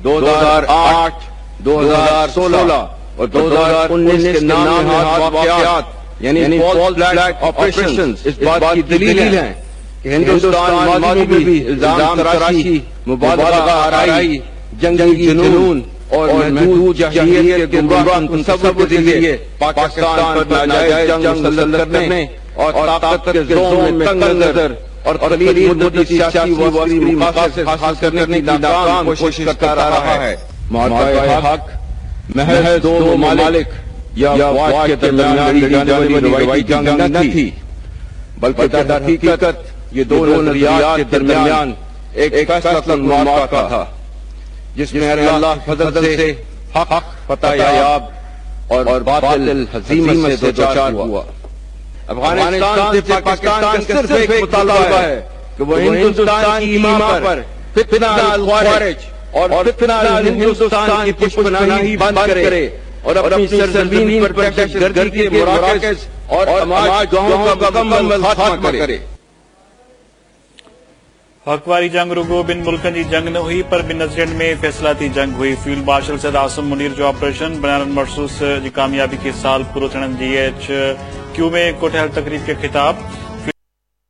2008, 2016 और 2019 के नाम नहाद वाकयात यानी फॉल्स फ्लैग ऑपरेशंस इस बात की दलील हैं कि हिंदुस्तान माजी में भी इल्जाम तराशी, मुबालगा आराई, जंगी जुनून और महदूद जारहियत के गुमराह तसव्वुर के जरिए पाकिस्तान पर नाजायज जंग मुसल्लत करने और ताकत के ज़ोम में तंग नजर और कलील मुद्दती सियासी व अस्करी मकासिद हासिल करने की नाकाम कोशिश करता रहा है। मार्का हक महज दो ममालिक या अफवाज के दरमियान लड़ी जाने वाली रिवायती जंग न थी, बल्कि दर हकीकत ये दो नजरियात के दरमियान एक फैसला मार्का था, जिसमें अल्लाह फजल से हक फतेहयाब और बातिल हजीमत से दो-चार हुआ। अफगानिस्तान से पाकिस्तान का सिर्फ एक मुतालबा है कि वह हिंदुस्तान की ईमा पर फितना अल-ख्वारिज और फितना अल-हिंदुस्तान की पुश्तपनाही बंद करे और अपनी सरजमीन पर दहशतगर्दी के मराकज़ और आमाजगाहों का मुकम्मल खात्मा करे। हक़ वारी जंग रुगो ॿिनि मुल्कनि जी जंग न हुई, पर ॿिनि नज़रियनि में फ़ैसिलाती जंग हुई। फील्ड मार्शल सैद आसिम मुनीर जो ऑपरेशन बनान मरसूस जी कामयाबी खे साल पूरो थियण जी एच क्यू में कोठियल तक़रीब खे ख़िताब।